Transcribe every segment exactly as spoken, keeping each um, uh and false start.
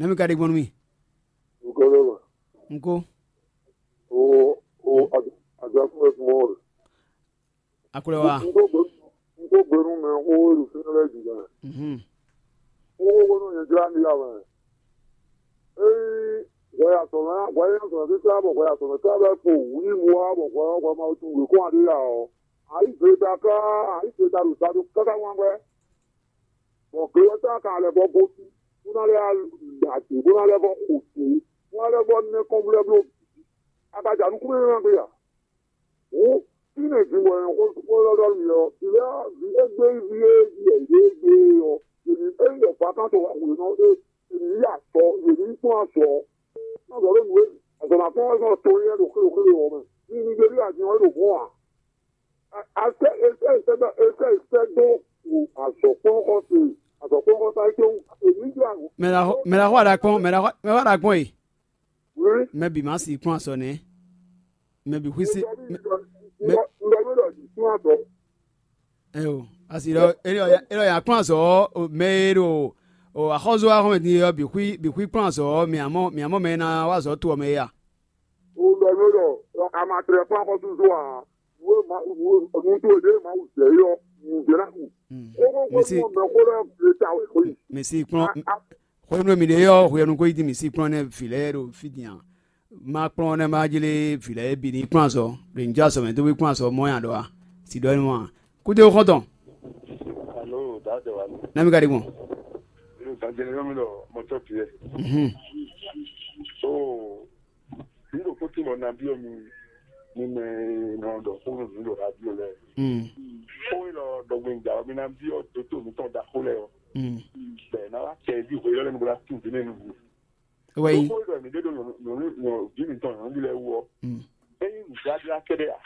Nɛ̌ mi ka ɖe gbɔn nú mì? Nǔkɔnlɔ́ ma. Un ko. O o azɔkúnmɛ kún mɔ. Akwɛ́ wa. Un ko gbé un ko gbé nú mɛ xó e ɖo fínɛ́ lɛ́ɛ jǐ lɛ́ɛ. Mhm. Xó xó nú nyɛ jlá mi ya wɛ. Ényí hwɛ ya sɔmɛ hwɛ ya sɔmɛ títí bɔ hwɛ ya sɔmɛ títí bɛ kpo wǔ yi mu wá bɔ hwɛ hwɛ ma tunwun wěkɔ́n ǎ ɖé ya ɔ́, ayǐ zleta ká ayǐ zleta ɖo sa ɖó káká wán hwɛ. Bɔ glɔ́ ta ka lɛ vɔ gosín, bó ná lɛ́ ɖa dě, bó ná lɛ́ vɔ xo dě, bó ná lɛ́ vɔ nɛ́ kɔnvlɛ́ bló bǐ. A ka ja nukúnnú énɛ́ gbe a? Hǔn, fínɛ́ din bɔ è nɔ xó xó élɔ́ ɖɔ nú mi ɔ́, vǐ lɛ́ɛ vǐ égbé ví e yɛ yě gbe ɔ́, yě ní ényí ɖɔ vakán tɔn wá hwě nɔ é, yě ní yí azɔ, yě ní kplɔ́n azɔ ɔ́. Má zɔ ɖó nǔ e azɔ̌ ná kplɔ́n wɛ zɔn to éyɛ́ ɖo xwé ɖo xwé ɖo ɔ́ mɛ. Ní ní gbé ɖó azin ɔ́ é ɖo hɔn ǎ. Asɛ esɛ esɛ dó azɔ̌kplɔ́nxɔse azɔ̌kplɔ́nxɔsa é tɔn èmi jɔ àgbo. Mɛ la xɔ mɛ la xɔ aɖakpɔn mɛ la xɔ mɛ xɔ aɖakpɔn e. Wí. Mɛ bǐ ma si kplɔ́n azɔ̌ nɛ́. Mɛ bǐ xwísi. Mɛ Ŋgɔ mi ɖɔ jǐ kplɔ́n azɔ̌. Ɛ o, asi ɖɔ elɔ ya kplɔ́n azɔ̌ mɛ e ɖo axɔ́zɔ axɔ́mɛ din ɔ́ bǐ xwí bǐ xwí kplɔ́n azɔ̌ mɛ amɔ mɛ amɔ mɛ e ná wá azɔ̌ to ɔ́ mɛ é a? Ŋgɔ mi ɖɔ amatlɛ kplɔ́n axɔ́súzɔ ǎ. Nǔ e Mawu nǔ e nǔ towe ɖě e Mawu zɛ é ɔ́, nǔ ɖé ná hu. Xóxó Mɛ si xwé mɛ xó lɛ́ɛ gle ta wɛ xwé. Mɛ si kplɔ́n A- a- xwenu e mi ɖe ɔ́ hwenu ko yi din mi si kplɔ́n nɛ vǐ lɛ́ɛ ɖo fí din a? Ma kplɔ́n nɛ ma jlé vǐ lɛ́ɛ bǐ ní kplɔ́n azɔ ɖo ní jɛ azɔ mɛ dó wí kplɔ́n azɔ mɔ nya ɖɔ a? Si ɖɔ énú a? Kúdé xɔ́ntɔn. Alo, dǎdɛ wa ni. Nami ka ɖi gbɔn. Alo, dǎdɛ wa ni lɔ mɔtɔ piɛ. Mhm. So, mi ɖo kó tí mɔ nabí ɔ mi mi mɛ nɔ ɖɔ xó nú mi ɖo radio lɛ. Mm. Xó e lɔ ɖɔgbɛngba ɔ mi na byɔ doto mi tɔn ɖaxó lɛ ɔ. Mm. Bɛ na wa kɛ di hwe yɔ lɛ nu bla tu di ne nu. Wɛ yi. Xó e lɔ mi ɖe ɖo nyɔnu nyɔnu nyɔnu vi mi tɔn nyɔnu bi lɛ wu ɔ. Mm. Eyi nudadla kɛɖɛ a.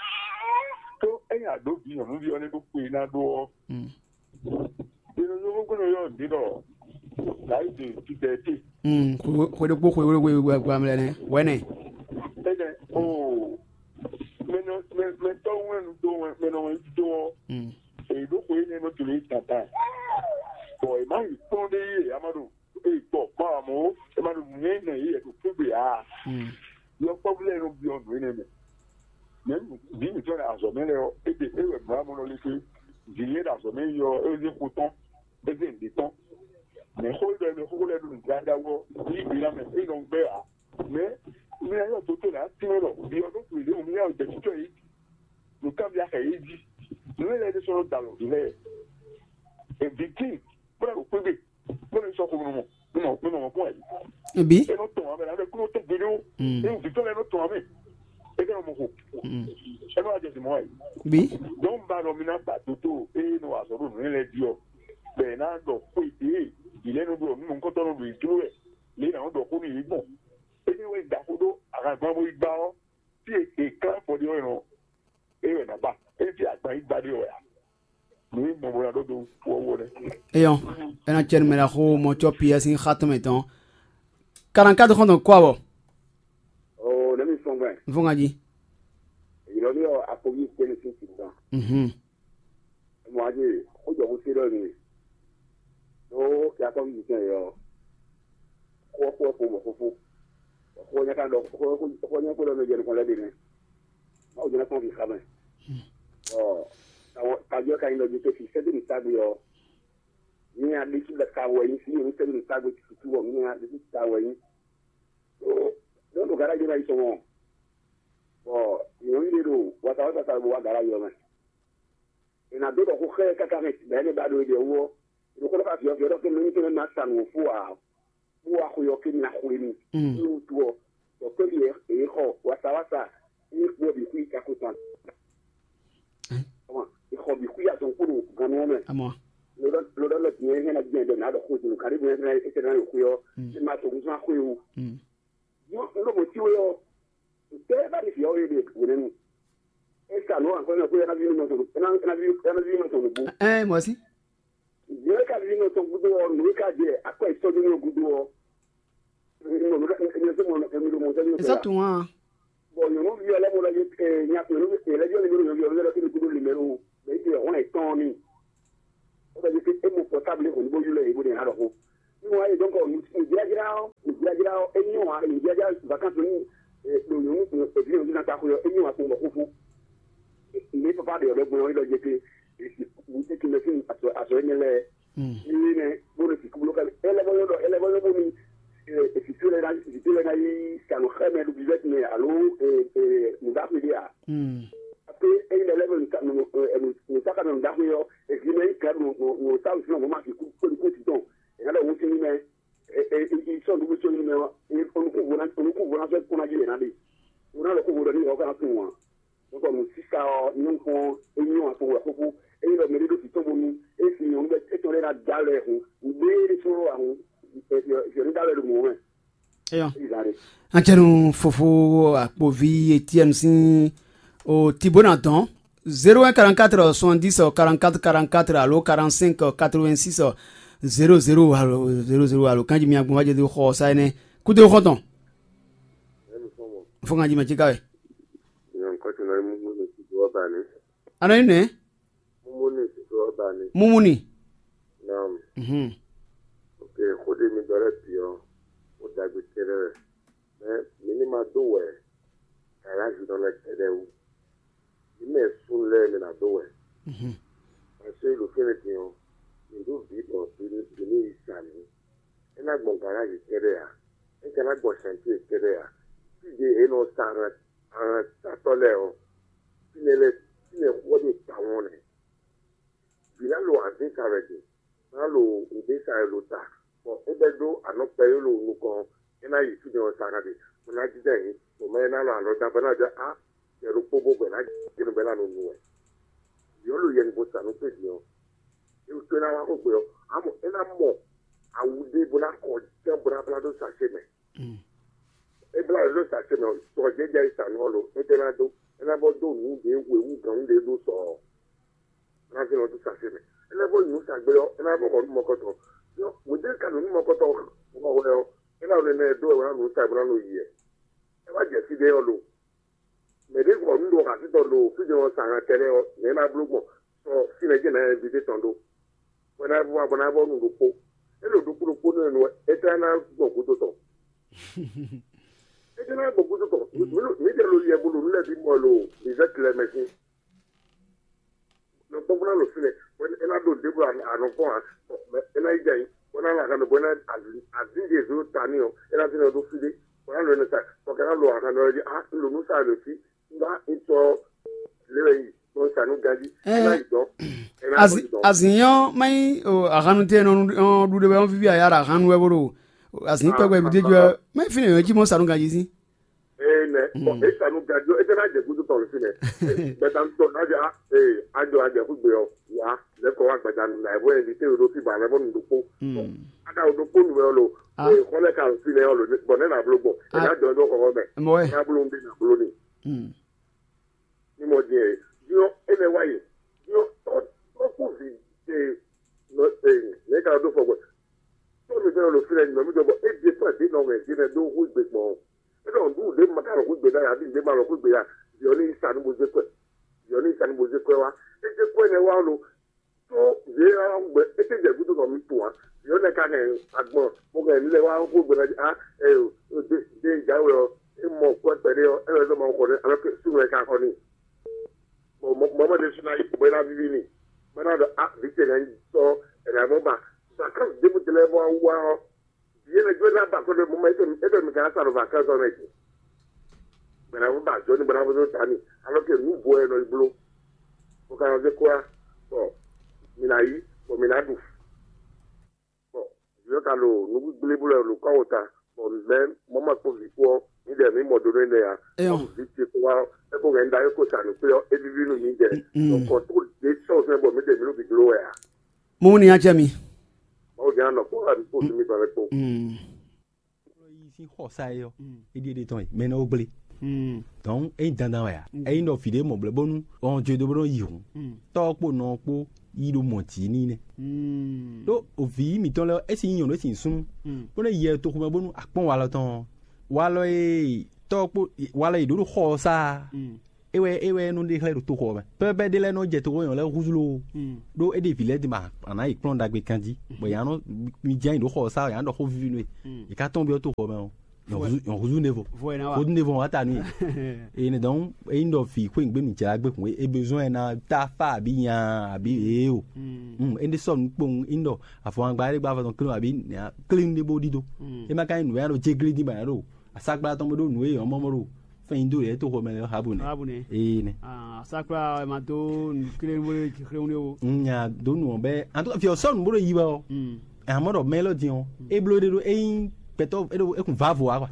Tó eyi ado bi nyɔnu bi ɔ ne ɖo kpe na ɖo ɔ. Mm. Yɛnɛ nyɔ́ gbɔn yɔ ɖi ɖɔ láyé de titɛ te. Mm, xwe xwe ɖokpó xwe wéwé wé gba mlɛ nɛ wɛnɛ. Ɛnɛ o mɛnɔ mɛ mɛtɔ wɛn nu do wɛn mɛnɔ wɛn do ɔ Mm. Èyí ɖó xwe énɛ́ nɔ tun ní tata. Bɔn è má yi kplɔ́n ɖé yé a ma ɖo e gbɔ kpɔn amɔ e ma ɖo nǔ nyɛ nɛ yé yɛ ɖo kúgbe a. Mm. Yɔkpɔ́vú lɛ́ɛ nɔ byɔ́ nǔ énɛ́ mɛ. Mɛ vǐ mǐtɔn ɖo azɔ̌ mɛ lɛ́ɛ ɔ́, é ɖe é wɛ mlǎ mɔ nɔ lé xwé. Vǐ e ɖo azɔ̌ mɛ yi ɔ́, é zé xo tɔn, é zé nǔɖé tɔn. Mɛ xó ɖɔ mɛ xóxó lɛ́ɛ ɖo nǔgbláɖá wú ɔ́, ní gbǐ ná mɛ é nɔ gbɛ́ ǎ. Mɛ mi ná yɔ dótó lɛ́ɛ ǎ tínmɛ ɖɔ vǐ ɔ́ ɖó to yě ɖě mi ná yɔ jɛ títɔ yě jí. Nǔ kanbyá xɛ yě jí. Nǔ e lɛ́ɛ ɖésú nɔ da lɔ vǐ lɛ́ɛ. È vǐ tíin, bó ná ɖo xwé gbe, bó ná sɔ́ xomɛ mɔ, mɔ mɔ mɔ kpɔ́n ɛ. Ebi. É nɔ tɔn amɛ, ná bɛ kúrò tɛgbɛ ɖó. Mm. É vǐ tɔn lɛ́ɛ nɔ tɔn amɛ. É kɛ nɔ mɔ xo. Mm. É nɔ wá jɛ zǐn mɔ ɛ. Bi. Donc ba nɔ mi ná gba dótó eye nɔ azɔ̌ ɖo nǔ lɛ́ɛ jí ɔ́, bɛ ná ɖɔ xwé ɖě vǐ lɛ́ɛ nɔ ɖo nǔ nukɔntɔn nɔ ɖo yě jló wɛ, lě nǎ nɔ ɖɔ xó nú yě gbɔn. Énɛ́ wɛ da xó ɖó ahangban bó yi gbá ɔ́, fí e è klán afɔ ɖé ɔ́ nɔ é wɛ ná ba. É fí agban yi gbá ɖé wɛ a? Nǔ e mɔ bó ná ɖó dó wɔwɔ nɛ́. Eyɔn, ena cɛ numɛ la xo mɔ cɔ P S in xa tɔn mɛ tɔn. Quarante-quatre xɔntɔn kɔ abɔ. Oo, ne mi sɔn gbɛ. N fɔ ŋa ji. Yìlɔ ní ɔ akɔbí kpé ní sín tìtàn. Mhm. Mɔ adé, ó jɔ kó sé lɔ ní. Ó kí akɔbí yìí tẹ̀ yɔ. Kó kó kó mɔ fúfú. Kó nyɛ ká lɔ kó kó nyɛ kó lɔ mɛ jẹ nukɔn lɛ dé nɛ. Má wò jẹ́ kó fi xamɛ. Ɔ, kàjọ ka yin lɔ jẹ tó fi sẹ́dí ní ságbé ɔ. Ní adé tí lɛ ka wɔ yín sí ní sẹ́dí ní ságbé tuntun wɔ ní adé tí ka wɔ yín. Ó, lọ́dún gàrá yìí náà yìí sọ̀rọ̀. Bɔn nyɔ̌nu ɖé ɖo watawata sa bó wá gǎlá yɔ mɛ. È nǎ dó ɖɔ xó xá ɛ káká mɛ bɛ̌ nɛ ba ɖo é ɖe wú ɔ́, è nɔ xó ɖɔ xá vǐ ɔ́, vǐ ɔ́ ɖɔ ké mɛ ní tɔn ná sa nǔ ɔ́ fó ǎ, bó wá xwe ɔ́ ké ná xwé mì. Mm. Ní wútu ɔ́, ɖɔ kpé ɖi è xɔ watawata, ní kpó bǐ xwí kako tɔn. Ɛ? È xɔ bǐ xwí azɔn kpó ɖo gannú ɔ́ mɛ. Amɔ. Lodɔ lodɔ lɔ tiɲɛ hɛn na jɛn dɔ na ɖɔ xó dunu kari bo hɛn na ete na yo xwe ɔ. Mm. Ne ma to ŋusɔn xwe o. Mm. Yɔ n ɖo mo ti we ɔ. Tɛ ba ni fi ɔ ye de wele nu. E sa no an fɛn ko yana vi no to na na vi na vi no to no bu. Ɛ mɔ si. Yɛ ka vi no to gudo ɔ no ka jɛ akɔ isɔ ni no gudo ɔ. Mo no ka mi so mo mi do mo se ni. Esa tun wa. Bɔn nyɔnuvi ɔ́ lɛ́ mɔ lɔ yé nya nyɔnuvi ɔ́ lɛ́ yɔ ní bó nyɔnuvi ɔ́ lɛ́ kí ní kúdó lǐmɛ ló bɛ yí ti hɔn ɛ tɔn ní. Ó bɛ yí pé é mɔ pɔtábli hɔn ní bó ylɔ́ yě bó ní alɔ xó. Ní wọ́n á yí dɔ́nkɔ nǔ jlájlá ɔ́. Jajlá ɔ́, é nyɔ́ ǎ, è nǐ jajlá vakansi ní ɖo nyɔ̌nu tɔn, èvǐ nyɔ̌nu ná ta xwe ɔ́, é nyɔ́ ǎ kpɔ́n bɔ xóxó. Mǐ papa ɖe ɔ̀dɔ gbɔn ɔ́, é ɖɔ jɛ pé wǔtú tɔn mɛ sín azɔ̌ énɛ́ lɛ́ɛ. Ní nɛ́ bó ɖo sixú bló xá mì. É lɛ́ vɔ́ nyɔ́ ɖɔ é lɛ́ vɔ́ nyɔ́ bónú vǐtú lɛ́ɛ ná vǐtú lɛ́ɛ ná yi sa nǔ xá mɛ ɖo bizɛ́ti mɛ alo nǔ ɖaxó ɖé ǎ. Ké ényí ɖɔ lɛ́ɛ nǔsákanɔ nǔɖaxó ɔ́, èvǐ mɛ nyí kɛ nǔsáwǔ sín ɔmɔ̌ ma sixú kpé nukún tɔn. È nǎ ɖɔ hǔn sín mɛ. Yi sɔ́ nǔɖuɖu sɔ́ nyi mɛ ɔ́, onukúnvo ná sɔ́ kpɔ́n ná jí yě ná ɖe. Wo ná lɔ kó vo ɖɔ ní yɔ̌ ká ná tunwun ǎ. Nukɔn nǔsísá ɔ́ nyɔ́ kpɔ́n é nyɔ́ ǎ kpɔ́n wɛ xóxó. Ényí ɖɔ mɛɖé ɖo sǐ tɔn bónú é sín nyɔ̌nu bɛ́ étɔn lɛ́ɛ ná dó alɔ ɛ hǔn, nǔɖé ɖésú ɔ́ wá hǔn, yɔ̌ ní dó alɔ ɛ ɖo mɔ̌ mɛ. Eyɔ. Éyí zán ɖe. An cɛ nu fofo akpovi Etienne sín o Tibona dɔn zéro un quarante-quatre soixante-dix quarante-quatre quarante-quatre alo quarante-cinq quatre-vingt-six zéro zéro alo zéro zéro alo kanji mi agbɔn wájɛ do xɔ sa énɛ́ kúdó xɔntɔn. Fo kanji mɛ cika wɛ. Anɔ yi nɛ. Mumuni. Mhm. Ok, xó ɖé mi ɖɔ lɛ́ɛ bǐ ɔ́, xó ɖagbe kɛ́ɖɛ́ wɛ. Mɛ mi ní ma dó wɛ galázi nɔ lɛ́ɛ kɛ́ɖɛ́ wú. Mi mɛ súnnu lɛ́ɛ mi ná dó wɛ. Mhm. Parce que ɖo fínɛ́ din ɔ́, mi ɖó vǐ bɔ vǐ ní yi sa mǐ. É ná gbɔn galázi kɛ́ɖɛ́ ǎ. É ka ná gbɔn sɛntíe kɛ́ɖɛ́ ǎ. Fí ɖě è nɔ sa ahan satɔ́ lɛ́ɛ ɔ́, fínɛ́ lɛ́ɛ fínɛ́ xó ɔ́ ɖo tawɔn nɛ́. Vǐ ná lo azǐn sa wɛ din, bó ná lo nǔɖé sa wɛ lo ta, bɔ é bɛ́ dó anɔ̌ kpɛɖé ɖo nukɔn, é ná yi fínɛ́ ɔ́ sa ná ɖe, bó ná jínjɔ́n ayǐ, bɔ mɛ e ná lɔ alɔ dán bɔ é ná jɔ á, jɛ ɖokpó bó bɔ é ná jɛ nú bɔ é ná nɔ nu wɛ. Vǐ ɔ́ lo yɛ nukɔn sa nú kpé din ɔ́, é wútu é ná wá xó gbe ɔ́, amɔ é ná mɔ awu ɖé bó ná xɔ jɛ́n bó ná blá dó sacé mɛ. É blá dó sacé mɛ ɔ́, sɔ jɛ́jɛ e sa nú ɔ́ lo, é tɛ́ ná dó, é ná bɔ dó nǔ ɖě hwewú gǎn ɖě ɖó sɔ ɔ́. Ná zé nɔ dó sase mɛ. É ná bɔ nǔ sa gbé ɔ́, é ná bɔ xɔ nú mɔkɔtɔ. Yɔ, mɔ̌ dé ka nǔ nú mɔkɔtɔ xɔ wɛ ɔ́, é ná nɛnɛ dó wɛ wɛ ná nǔ sa bó ná nɔ yi ɛ. É wá jɛ fí ɖé ɔ́ lo. Mɛ ɖé xɔ nǔ ɖo xasítɔ lo fí ɖé ɔ́ sa han kɛnɛ ɔ́, nɛ̌ ná bló gbɔn? Sɔ fínɛ́ jɛ́n ná invité tɔn ɖó. Bɔ ná bɔ ná bɔ nǔ ɖokpó. É ɖo ɖokpó ɖokpó nú ɛnu ɛ, é tlá ná gbɔn gúdo tɔn. É tlá ná gbɔn gúdo tɔn. Mǐ ɖe lo yɛ bo ɖo nú lɛ́ɛ bí mɔ lo bizɛ́ tlɛ mɛ sín. Nɔ kpɔ́kpɔ́ ná ɖo fínɛ́, bɔ é ná ɖo ɖěbǔ anɔkpɔ́n ǎ, bɔ é ná yi jɛ ayǐ, bɔ é ná lɛ ahan ɖo bɔ é ná azǐn ɖe zǒ ta n'i ɔ́, é ná zé nɔ ɖó fí ɖé, bɔ é ná lɔ ɛnɛ sa, bɔ ka ná lɔ ahan ɖɔ jí á un ɖo nǔ sa ɖo fí, un ɖó un sɔ́ lě wɛ yi, bɔ un sa nú ganjí, é ná yi dɔn, é ná yi dɔn. Azǐn ɔ́ má nyí ahannu tɛ́ nɔ ɖu ɖé wɛ ɔ́ víví aya ɖo ahannu wɛ bó ɖo azǐn kpɛkpɛ ɖu ɖé jí wɛ má nyí fínɛ́ yɔ̌ jí mɔ sa nú ganjí sín. Ee nɛ, bɔn e sa nu gadi ɔ, e tɛ na jɛ gudu tɔn si nɛ. Gbɛdanu tɔ na jɛ a ee adzɔ adzɛ kugbe ɔ wa lɛ kɔ wa gbɛdanu na ebo yɛ vite o do fi ba lɛ bɔ nu do kpo. Ada o do kpo nu mɛ ɔ lo ee xɔlɛ ka fi nɛ ɔ lo bɔn ne na blo gbɔ e na jɔ do xɔxɔ mɛ na blo n bi na blo ni. Ni mɔ diɛ diɔ e nɛ wa yi diɔ tɔ tɔ ku vi ee nɔ ee ne ka do fɔ gbɛ tɔ mi fɛ ɔ lo fi nɛ nɔ mi dɔ bɔ e di fɔ di nɔ wɛ di nɛ do hu gbe gbɔn. Eɖɔ nǔɖuɖu ɖě ma ka lɔ xwé gbe ɖa ya, ɖi ɖě ma lɔ xwé gbe ya, yɔ ní sa ní bo zé kɔe, yɔ ní sa ní bo zé kɔe wá. É zé kɔe nɛ wá lo, tó yě wá gbɛ, é tɛ jɛ gúdo nɔ mi tún wá, yɔ nɛ ka hɛn agbɔn, mo hɛn ní lɛ wá xwé gbe ɖa, a, ɛ, ɖe ɖe jáwé ɔ, é mɔ kɔe kpɛɖé ɔ, é wɛ zɔ ma xɔ ní, alɔ ke sunu wɛ ka xɔ ní. Bɔn mɔ mɔ ɖe suna yi bɔ é ná vivi ní, bɔ é ná ɖɔ a, vǐ ce nɛ sɔ, ɛnɛ mɔ ba, sa kan ɖěbǔ tɛ lɛ bɔ wá ɔ. Yě lɛ jɔ ná ba kɔn ɖe mɔ mɛ etɔn etɔn mi ka sa ɖo vacances ɔ́ mɛ ce. Bɛnɛ vo ba jɔ ni bɛnɛ vo ta ni, alɔ ke nu vo ɛ nɔ yi blo. Bɔ ka nɔ zé kura, bɔ mi na yi, bɔ mi na ɖu. Bɔ yɔ ka lo nu gbigble blo ɛ lo kɔ wo ta, bɔ mɛ mɔ ma kpɔ vi kpɔ mi ɖe mi mɔ do ne ne ya. Eyɔ. Bɔ vi ce kɔ wa, e ko ŋɛ da e ko sa nu kpe ɔ, e vivi nu mi jɛ. Bɔ kɔ to de sɔ fɛ bɔ mi ɖe mi lo bi blo wɛ a. Mo ní acɛ mi. Mawu jẹ́ àná kó àbí kó sinmi balẹ̀ kó. Yi sín xɔsa yɛ ɔ, é ɖíe ɖe tɔn yi mɛ nɔ gblé. Donc é nyí dandan wɛ a? É nyí ɖɔ fǐ ɖé mɔ blɛ́ bónú ɔn jo do bó nɔ yi hǔn, tɔ́ kpó nɔ kpó yi ɖo mɔ tǐ ní nɛ́. Ɖó òvǐ mǐtɔn lɛ́ɛ é sin nyɔ̌nu é sin súnnu, bó nɔ yɛ toxo mɛ bónú akpɔ́n walɔ tɔn ɔ́, walɔ e tɔ́ kpó walɔ e ɖǒ ɖo xɔ ɔ́ sá. é wɛ é wɛ nɔ ɖe xlɛ́ ɖo toxo ɔ́ mɛ. Pɛ́pɛ́pɛ́ ɖé lɛ́ɛ nɔ jɛ toxo nyɔ̌nu lɛ́ɛ húzú lóó. Ɖó é ɖe vǐ lɛ́ɛ din ma a nǎ yi kplɔ́n ɖagbe ganjí, bɔ yě nɔ mi jɛ nyi ɖǒ xɔ ɔ́ sá, yě nɔ ɖɔ xó víví nú we. Yě ká tɔ́n byɔ́ toxo ɔ́ mɛ ɔ́, nyɔ̌ húzú nevo. Húzú nevo wá ta nú yě. Eye ne dɔn ényí ɖɔ vǐ xwé nǔgbé nǔ jlá gbé hǔn é bezoin ɛ ná tá fá abǐ nya abǐ ée o. É ɖé sɔ́ nǔ kpowun ényí ɖɔ avɔwangba ɖé gba avɔ tɔn klín abǐ klín ɖé bó ɖídó. É ma ka nyí nǔ e ná ɖo jéglé dín bɔ ná ɖo aságbla tɔn bó ɖó nǔ e yɔ̌mɔ́mɔ́ ɖo fɛnnyí dó yě toxo mɛ lɛ́ɛ Rahabu nɛ́. Rahabu nɛ́. Ee nɛ. Ah, sakpla ɛ ma dó nǔkléwlé jixléwlé o. Nya dó nǔ ɔ́ bɛ, en tout cas, fi ɔ́ sɔ́ nǔ bó ɖo yi wɛ ɔ́. Amɔ̌ ɖɔ mɛ élɔ́ din ɔ́, é bló ɖé ɖó é nyí gbɛtɔ́ é ɖo é kun vǎvo wa kɔ.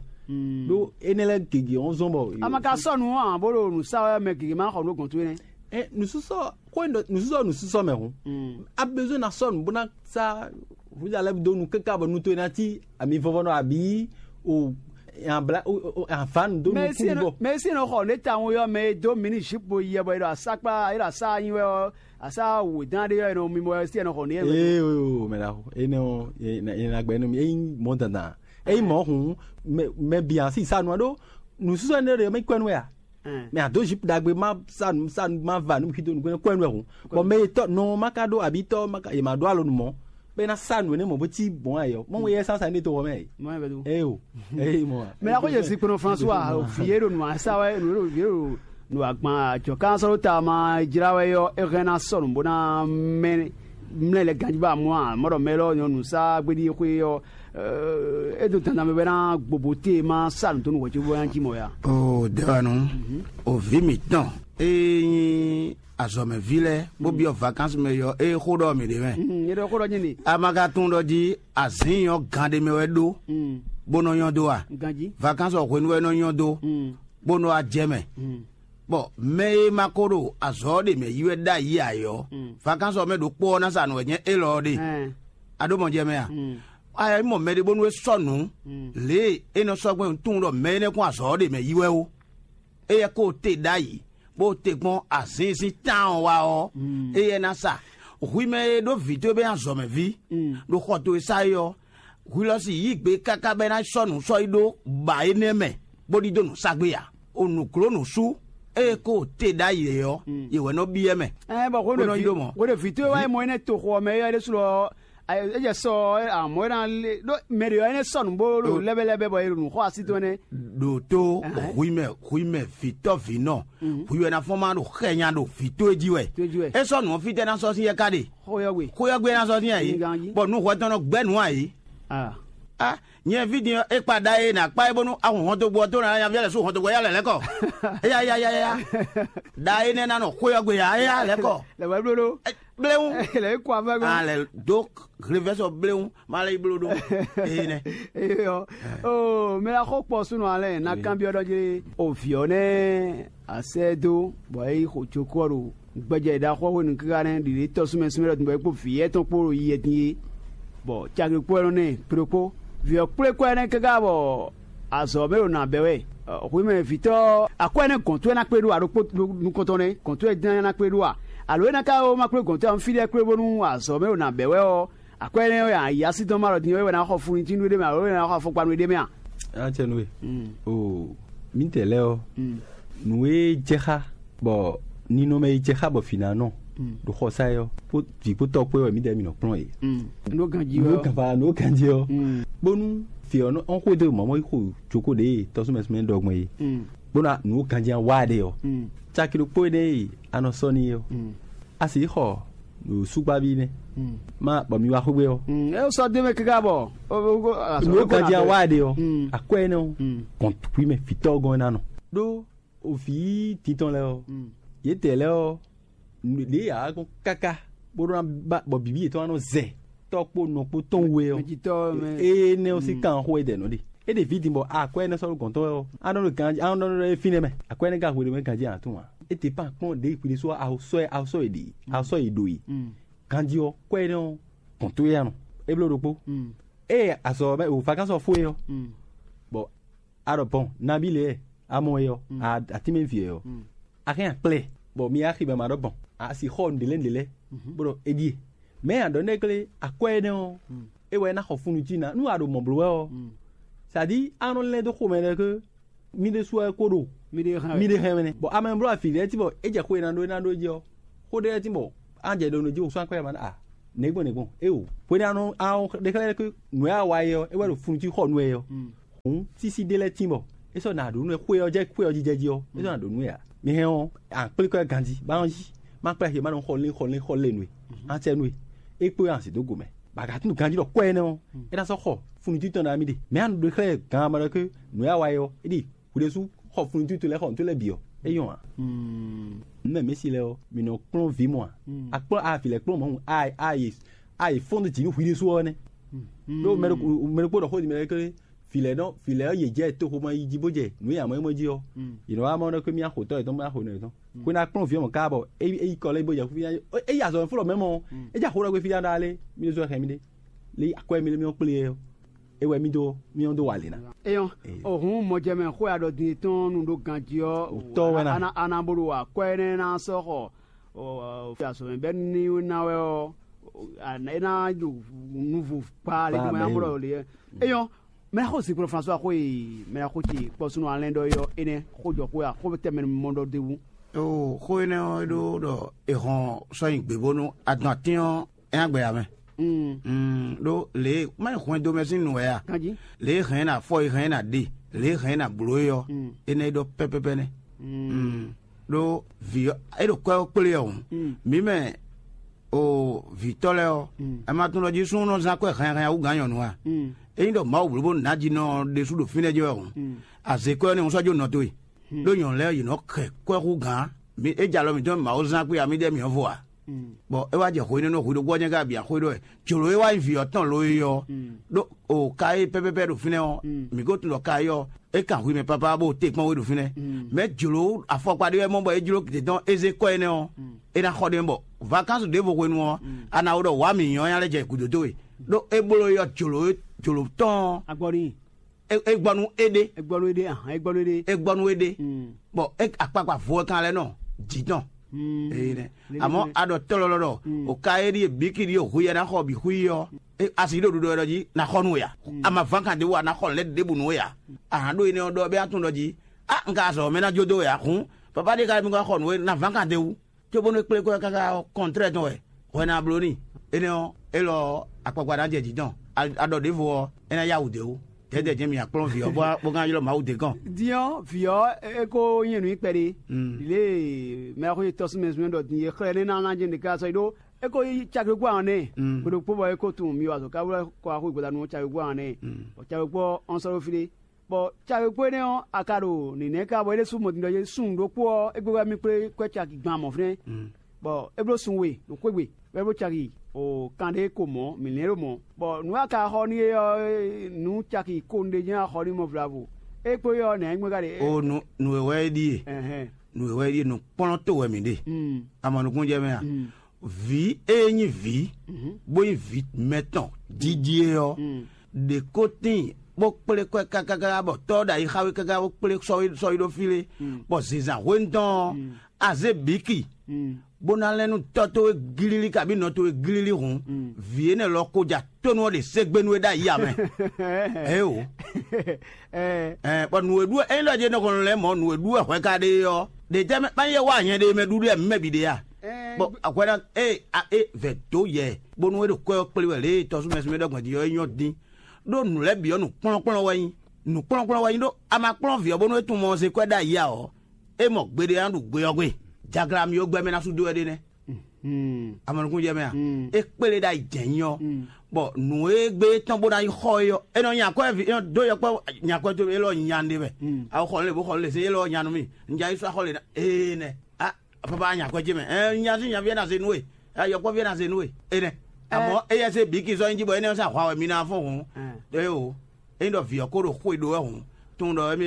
Ɖó énɛ́ lɛ́ɛ gěgé ɔ́ zɔ́n bɔ. A ma ka sɔ́ nǔ ǎ bó ɖo nǔ sa wɛ mɛ gěgé ma xɔ nǔ gɔ̌n towe nɛ́. Ɛ nǔsúsɔ xó nǔsúsɔ nǔsúsɔ mɛ hǔn. A bezoin na sɔ́ nǔ bó ná sá Hlúza lɛ́ɛ dó nu káká bɔ nu towe ná cí ami vɔvɔ nɔ abǐ o abla o avǎnu dó nu kúkú bɔ. Mɛ e sí nɔ xɔ nǔ e tawun yɔ mɛ e dó mi ní zipu yɛ bɔ è ɖɔ asákpá è ɖɔ asá nyi wɛ ɔ́, asá wědán ɖé yɔ è nɔ mi bɔ é sí è nɔ xɔ nǔ yɛ. Ee o mɛ ɖaxo énɛ́ ɔ́, è nǎ gbɛ nú mi é nyí mɔ̌ dandan. É nyí mɔ̌ hǔn mɛ bǐ a sí sa nu ɔ́ ɖó nǔsúsɔ énɛ́ ɖé mɛ kwɛ́ nú wɛ a? Mɛ a dǒ zipu ɖagbe ma sa nu sa nu ma va nu xi dó nukún kwɛ́ nú wɛ hǔn. Bɔ mɛ e tɔ́ nɔ ma ka ɖó abǐ tɔ́ ma ka è ma ɖó alɔ nu mɔ̌ bɔ é ná sa nǔ énɛ́ mɔ̌ bó cí gbɔn ayɔ mɔ wɛ yɛ sasa ní to wɔ mɛ. Ee o. Ee mɔ. Mɛ la ko yɛ zikpɔnɔ François o fi yɛ ɖo nua sa wɛ ɖo yɛ ɖo nua gban jɔ kan sɔrɔ ta ma jra wɛ yɔ e hɛn na sɔnu bó na mɛ mlɛ lɛ ganji ba mɔ a mɔ ɖɔ mɛ lɔ nyɔnu sa gbedi xwe yɔ e do dandan mɛ bɛ na gbogbo te ma sa nu to nu wɛ tso bɔ yan ji mɔ ya. O dewanu o vi mi tɔn e nyi azɔmɛvi lɛ bó biɔ vacances mɛ yɔ e xo ɖɔ mi ɖe mɛ. Ye ɖɔ xo ɖɔ nyi ni. A ma ka tunwun ɖɔ jí azǐn nyɔ gan ɖé mɛ wɛ ɖó bó nɔ nyɔ dó a? Ganji. Vacances ɔ hwenu wɛ nɔ nyɔ dó bó nɔ wá jɛ mɛ. Bɔ mɛ e ma ko ɖo azɔ̌ ɔ́ ɖe mɛ yi wɛ ɖ'ayǐ ǎ é ɔ́, vacances ɔ́ mɛ ɖokpó ɔ́ ná sa nǔ wɛ nyɛ élɔ́ ɔ́ ɖe. A ɖó mɔ jɛ mɛ a? A yɛ mɔ mɛ ɖé bónú é sɔ́ nǔ lě e é nɔ sɔ́ gbɛn tunwun ɖɔ mɛ énɛ́ kún azɔ̌ ɔ́ ɖe mɛ yi wɛ ó. Éyɛ́ ko te ɖ'ayǐ, bó te gbɔn azǐnzín tán ɔ́ wá ɔ́, éyɛ́ ná sa. Hwi mɛ e ɖó vǐ towe bɔ é nyí azɔ̌mɛví ɖo xɔ towe sá é ɔ́, hwi lɔ si yí gbe káká bɔ é ná sɔ́ nǔ sɔ́ yi ɖó ba énɛ́ mɛ, bó ɖidó nǔ sa gbé ǎ. O nǔgló nǔsú ée ko te ɖ'ayǐ é ɔ́, yě wɛ nɔ byɔ́ mɛ. Ɛ bɔ Bó nɔ yi ɖó mɔ̌. Hwenu vǐ towe wá yi mɔ énɛ́ toxo ɔ́ mɛ é ɖésú ɔ́, é jɛ sɔ ɔ́ amɔ̌ é ná lé ɖó mɛ ɖě ɔ́ énɛ́ sɔ́ nǔ bó ɖo lɛ́bɛ́lɛ́bɛ́ bɔ è ɖo nǔ xɔ así tɔn nɛ́. Ɖo tó hwi mɛ hwi mɛ vǐtɔ́vǐnɔ hwi wɛ ná fɔ́n má ɖo xɛ nya ɖo vǐ towe jí wɛ. Towe jí wɛ. É sɔ́ nǔ ɔ́ fítɛ́ ná sɔ́ sín yɛ ká ɖe? Xóyɔ́gbé ná sɔ́ sín ayǐ. Bɔ nú hwɛ tɔn nɔ gbɛ́ nǔ ayǐ. Ah, nyɛ ví din ɔ́, é kpa ɖa e nǎ kpá é bónú ahɔn hɔntogbó ɔ́ tó nǎ nyaví lɛ́ sú hɔntogbó yá lɛ̌ lɛ́ kɔ. Éyá yá yá yá. Ɖa énɛ́ ná nɔ xóyɔ́gbé yá éyá lɛ̌ kɔ. Lɛ wɛ bló ɖó. Bléwún. Lɛ kó avɛ gbɔn. Ah, lɛ dó révɛsɔ bléwún má lɛ yi bló ɖó. Ee nɛ. Eyɔ. Oh, mɛ la xɔ kpɔ súnɔ alɛ na kanbyɔ ɖɔ jɛ o viɔ nɛ asɛ do bɔ e xo tsoko ɔ́ ɖo gbɛjɛ ɖaxɔ hwenu kíká nɛ ɖiɖe tɔ súnmɛ súnmɛ ɖɔ tun bɔ e kpo vǐ yɛ tɔn kpo ɖo yi yɛ din é. Bɔ cagbe kpo ɛnɔ nɛ kplokpo viɔ kplé kɔ ɛnɛ káká bɔ azɔ mɛ ɖo nǎ bɛ wɛ. Hwi mɛ vǐtɔ akwɛ ɛnɛ gɔn tó ɛnɛ kplé ɖo aɖokpo nukɔntɔn nɛ gɔn tó ɛnɛ kplé ɖo a? Alo ɛnɛ ka wo ma kplé gɔn tó ɛnɛ fí ɖɛ kplé bónú azɔ mɛ ɖo nǎ bɛ wɛ ɔ́, akwɛ ɛnɛ wɛ a yá sí dɔn ma ɖɔ din wɛ ná xɔ funu cí nú ɖé mɛ alo wɛ ná xɔ afɔkpa nú ɖé mɛ a? Acɛ nú we. O mítɛ lɛ́ɛ ɔ́, nǔ e jɛ xá bɔ ninɔmɛ e jɛ xá bɔ vǐ ná nɔ ɖo xɔsá é ɔ́, vǐ kpó tɔ́ kpó wɛ mítɛ mǐ nɔ kplɔ́n yě. Nǔ ganjí Nǔ ɔ́. Gava nǔ ganjí ɔ́, bónú vǐ ɔ́ nɔ ɔ́n xwedó mɔ̌ mɔ yi xo joko ɖě tɔ́súmɛsúmɛ ɖɔgbɔn é, bónú nǔ ganjí wá ɖe ɔ́, caki ɖokpó énɛ́ e a nɔ sɔ́ n'i é ɔ́, a sixɔ ɖo súgbáví nɛ́. Ma bɔ mi wá xwé ɔ́. É sɔ́ dó mɛ káká bɔ. Nǔ ganjí a wá ɖe ɔ́, akwɛ́ énɛ́ ɔ́, kɔn kpí mɛ vǐtɔ́ gɔ́n ná nɔ. Ɖó òvǐ tintɔn lɛ́ɛ ɔ́, yětɛɛ lɛ́ɛ ɔ́, lě yě ǎ gɔ́n káká bó ɖó ná ba bɔ bǐbí yětɔn ná nɔ zɛ tɔ́ kpó nɔ kpó tɔn we ɔ́. Mɛjitɔ́ mɛ. Énɛ́ ɔ́ sín kan xó é dɛ nɔ ɖe. É ɖe vǐ din bɔ akwɛ́ énɛ́ sɔ́ ɖo gɔ̌n tɔn wɛ ɔ́, á nɔ ɖo ganjí á nɔ ɖɔ é fínɛ́ mɛ. Akwɛ́ énɛ́ ka hwe ɖo mɛ ganjí ǎ tún ǎ. É te pan kplɔ́n ɖě xwi ɖésú ɔ́, a sɔ́ ɛ a sɔ́ è ɖe a sɔ́ è ɖo e. Ganjí ɔ́, kwɛ́ énɛ́ ɔ́, gɔ̌n towe ɔ́ nɔ. É bló ɖokpó. Ée azɔ̌ ɔ́ mɛ o vacances ɔ́ fó é ɔ́, bɔ a ɖɔ bɔn nabí lě a mɔ é ɔ́, a tínmɛ vǐ ɛ ɔ́, a hɛn akplɛ, bɔ mi axi mɛ ma ɖɔ bɔn a si xɔ nǔɖé lɛ́ɛ nǔɖé lɛ́ɛ, bó ɖɔ é ɖíe. Mɛ̌ a ɖɔ nɛ́ glé akwɛ́ énɛ́ ɔ́, é wɛ é ná xɔ fúnnu cí ná nú a ɖo mɔ̌ bló wɛ ɔ́, sadi a nɔ lɛ́ dó xomɛ ɖɔ ké mì ɖésú wɛ ko ɖo Mi ɖe hɛn mi ɖe hɛn mɛ nɛ. Bɔn ame e bló afi lɛ́ɛ ti bɔ é jɛ xó e ná ɖó é ná ɖó é jí ɔ́, xó ɖé lɛ́ɛ ti bɔ á jɛ ɖo nǔ jí wosɔ́ akwɛ́ ma ɖo a nɛ̌gbɔn nɛ̌gbɔn é o. Hwenu anu ahɔn ɖe xlɛ́ ɖɔ nǔ e a wa é ɔ́, é wɛ ɖo funu jí xɔ nú ɛ ɔ́. Hǔn sísí ɖé lɛ́ɛ tín bɔ é sɔ́ nǎ ɖó nú ɛ xwé ɔ́ jɛ xwé ɔ́ jí jɛ jí ɔ́, é sɔ́ ná ɖǒ nú ɛ ǎ. Mi hɛn ɔ́, a kplé kɔ́ ɛ ganjí, bá ɔ́ yí, má kplá xě má nɔ xɔ lé xɔ lé xɔ lé nú ɛ, á cɛ nú ɛ, é kpé ɔ́, a zǐ dó go mɛ. Bɔ a ka tunwun ganjí ɖɔ kɔ́ énɛ́ ɔ́, é ná sɔ́ xɔ funu títɔn ná mì ɖe. Mɛ a nɔ ɖe xlɛ́ gan ma ɖɔ ké nǔ e a wa é ɔ́, é ɖi hwiɖésú xɔ funu títɔn lɛ́ɛ xɔ nǔ lɛ́ɛ bǐ ɔ́, é nyɔ́ ǎ. Nǔ mɛ mǐ si lɛ́ɛ ɔ́, mǐ nɔ kplɔ́n vǐ mɔ a? A kplɔ́n a vǐ lɛ́ɛ kplɔ́n mɔ̌ a a yi fɔ́n dó jǐ nú hwiɖésú ɔ́ nɛ́. Ɖó mɛ ɖokpó ɖɔ xó din mɛ ɖé ké vǐ lɛ́ɛ nɔ vǐ lɛ́ɛ ɔ́ yě jɛ toxomɛ yi jí bó jɛ nǔ e amɔ̌ é mɔ jí ɔ́, yě nɔ wá mɔ ɖɔ ké mì axotɔ́ yětɔn mì axonɔ yětɔn. Xwé ná kplɔ́n vǐ ɔ́ mɔ̌ káá bɔ é é yi kɔ lɛ́ɛ bó jɛ fí é yi azɔ̌ fó lɔ mɛ mɔ é jɛ axó ɖɔ gbé fí ɖá ɖá lé mì ɖésú wɛ hɛn mì ɖé lé akwɛ́ mì lé mì ɔ́ kplé ɛ ɔ́ é wɛ mì dó mì ɔ́ dó wa lě ná. Eyɔn, ohun mɔjɛmɛ xó ya ɖɔ din tɔn nu ɖó ganjí ɔ́, Tɔ́ wɛ ná. Ana ana bó ɖo akwɛ́ énɛ́ ná sɔ́ xɔ fí azɔ̌ mɛ bɛ́ ní ná wɛ ɔ́, é ná ɖo nuvo kpa lé dó mɛ amɔ ɖɔ lě. Eyɔn, mɛ xó zinkplɔ́n François xó e mɛ xó ce kpɔ́súnɔ alɛ́n ɖɔ yɔ énɛ́ xó jɔ xó ya xó tɛmɛ mɔ ɖɔ d'é wú. Ó, xó énɛ́ ɔ́ é ɖó ɖɔ è hɔn sɔ́ nyi gbě bónú adɔn atín ɔ́ é ná gbɛ ya mɛ. Mm, ɖó lě e má nyí hwɛndo mɛ sín nǔ wɛ a? Kanjí. Lě e hɛn ná fɔ e hɛn ná ɖe, lě e hɛn ná bló é ɔ́, énɛ́ é ɖɔ pɛ́pɛ́pɛ́ nɛ́. Mm, ɖó vǐ ɔ́ é ɖo kwɛ́ ɔ́ kplé ɔ́ hǔn, mǐ mɛ o vǐtɔ́ lɛ́ɛ ɔ́, ɛ ma tunwun ɖɔ jí súnnu nɔ zán kwɛ́ hɛnhɛn wú gǎn nyɔ̌nu a? Ényí ɖɔ Mawu blǒ bó nǎ jinɔ ɔ́ ɖésú ɖo fínɛ́ jɛ wɛ hǔn, azě kwɛ́ ɔ́ nɛ́ hǔn sɔ́ jó nɔ towe. Ɖó nyɔ̌nu lɛ́ɛ yě nɔ kɛ kwɛ́ hú gǎn. Mǐ é jɛ alɔ mǐtɔn mɛ Mawu zán kpé amíɖɛ́ mǐ ɔ́ vo ǎ. Bɔ é wá jɛ hwenu e nɔ hwi ɖokpó ɔ́ jɛ́n ká bǐ axwé ɖɔ wɛ jlǒ e wá nyí vǐ ɔ́ tɔn lo é ɔ́, ɖó o ka e pɛ́pɛ́pɛ́ ɖo fínɛ́ ɔ́, mǐ ko tunwun ɖɔ ka é ɔ́, é kan hwi mɛ pápá bó te kpɔ́n we ɖo fínɛ́. Mɛ̌ jlǒ afɔkpa ɖé wɛ mɔ bɔ é jló gědɔn é zé kɔ́ énɛ́ ɔ́, é ná xɔ ɖe bɔ vakansu ɖěvo hwenu ɔ́, a nǎ wo ɖɔ wǎ mǐ nyɔ́ nya lɛ́ jɛ gǔdo dó we. Ɖó é bló é ɔ́, jlǒ jlǒ tɔn ɔ́, Agbɔ n'i. É é gbɔ nú é ɖé. É gbɔ nú é ɖé, ahan, é gbɔ nú é ɖé. É gbɔ nú é ɖé. Bɔ é akpakpa vo ɛ kan lɛ́ nɔ jǐ tɔn. Ee nɛ. Amɔ̌ a ɖɔ tɔ́lɔlɔ ɖɔ o ka e ɖíe bǐ ki ɖíe hu yɛ ná xɔ bǐ xwí ɔ́, a sǐ ɖo ɖuɖɔ ɖɔ jí ná xɔ nú we a? A ma ván kan ɖěbǔ a ná xɔ lɛ̌ ɖěbǔ nú we a? A hǎn ɖó énɛ́ ɔ́ ɖɔ bɛ́ a tunwun ɖɔ jí a un ka azɔ̌ mɛ ná jó dó we a hǔn, papa ɖé ka mi ka xɔ nǔ we ná ván kan d'é wú. Cóbónú é kplé kɔ́ káká ɔ́, kɔntrɛ́ɛ tɔn wɛ hwɛ ná bló n'i. Énɛ́ ɔ́, élɔ́ ɔ́, akpakpa ná jɛ jǐ tɔn. A ɖɔ ɖěvo ɔ́, é ná yá wǔ d'é wú. Dɛ̌dɛ̌ jɛ́n mi akplɔ́n vǐ ɔ́, bó bó ká ylɔ́ Mawu d'é gɔ́n. Din ɔ́, vǐ ɔ́, é ko nyí nǔ kpɛɖé. Lě e mɛ xwé tɔ́ sín mɛ zɔ́n ɖɔ din e xlɛ́ nɛ́ ná ná jɛ nǔɖé ká sɔ́ yi ɖó é ko yí caklogbó ahɔn nɛ́. Gbe ɖokpó bɔ é ko tunwun mi wa azɔ̌ ká wlɛ́ kɔ axwé gbadanu caklogbó ahɔn nɛ́. Bɔ caklogbó ɔ́ sɔ́ ɖó fí ɖé. Bɔ caklogbó énɛ́ ɔ́, a ka ɖo nǐnɛ́ ká bɔ é ɖésú mɔ din ɖɔ yé súnnu ɖokpó ɔ́, égbé wɛ mì kplé kwɛ́ caki gban mɔ̌ fínɛ́. Bɔ é bló sun we ɖo xwé gbe, bɔ é bló caki o kan ɖé ko mɔ̌, mǐ lɛ́n ɖo mɔ̌. Bɔ nǔ e a ka xɔ n'i é ɔ́, nǔ caki ko un ɖe jɛ́n a xɔ n'i mɔ vlavo. É kpó é ɔ́, nɛ̌ nyí gbɔn ka ɖe? O nǔ nǔ e wɛ é ɖíe. Ɛhɛn. Nǔ e wɛ é ɖíe, nǔkplɔ́ntó wɛ mǐ ɖe. Mm. A mɔ nukúnnú jɛ mɛ a? Mm. Vǐ e nyí vǐ, bó nyí vǐ mɛtɔn dídí é ɔ́, ɖě ko tíin bó kplé kwɛ́ káká bɔ tɔ́ ɔ́ ɖo ayixa wé káká bó kplé sɔ́ wé sɔ́ wé ɖó fí lé, bɔ zǐnzán hwenu tɔn ɔ́, a zě bǐki, bó ná lɛ́n nú tɔ́ towe glílí kabí nɔ towe glílí hǔn, vǐ énɛ́ lɔ ko ja tónú ɔ́ ɖe ségbénú é ɖ'ayǐ ǎ mɛ. Ɛ o. Ɛɛ, bɔ nǔ e ɖu wɛ ényí ɖɔ jɛ nɔkɔn lɛ́ɛ mɔ nǔ e ɖu wɛ hwɛ ka ɖe é ɔ́, ɖe tɛ́ mɛ má nyí é wá nyɛ ɖe mɛ ɖuɖu wɛ mɛ bǐ ɖe a? Bɔ hwɛ ná e a e vɛ dó yɛ bónú é ɖo kwɛ́ ɔ́ kplé wɛ lě e tɔsúmɛsúmɛ ɖɔ gbɔn din ɔ́ é nyɔ́ dín. Ɖó nǔ lɛ́ɛ bǐ ɔ́ nǔkplɔ́nkplɔ́n wɛ nyí. Nǔkplɔ́nkplɔ́n wɛ nyí ɖó a ma kplɔ́n vǐ ɔ́ bónú é tunwun mɔ ɔ́ zé kwɛ́ ɖ'ayǐ ǎ ɔ́, é mɔ gbeɖé ná ɖu gbe ɔ́ gbe. Jagla mì ó gbɛ́ mɛ ná sú dó wɛ ɖé nɛ́. Amɔnukúnjɛ mɛ a? É kplé ɖ'ayǐ jɛ̌n nyí ɔ́, bɔ nǔ e gbé tɔn bó ná yi xɔ é ɔ́, é nɔ nyi akwɛ́ vi é nɔ dó yɔkpɔ́ nyi akwɛ́ towe élɔ́ nyi nya ɖé mɛ. Awo xɔ lě bó xɔ lě zé élɔ́ nya nú mì. Un ja yi sɔ́ axɔ lě ná ee nɛ. A papa nyi akwɛ́ ce mɛ. Ɛɛ nya sín nyaví ɛ ná zé nú we. Yɔkpɔ́ví ɛ ná zé nú we. Énɛ́. Amɔ̌ éyɛ́ zé bǐ ki zɔ́ nyi jí bɔ énɛ́ ɔ́ sín ahwa wɛ mi ná fɔ́n hǔn. Éo. Ényí ɖɔ vǐ ɔ́ ko ɖo xwe ɖó wɛ hǔn, tunwun ɖɔ émí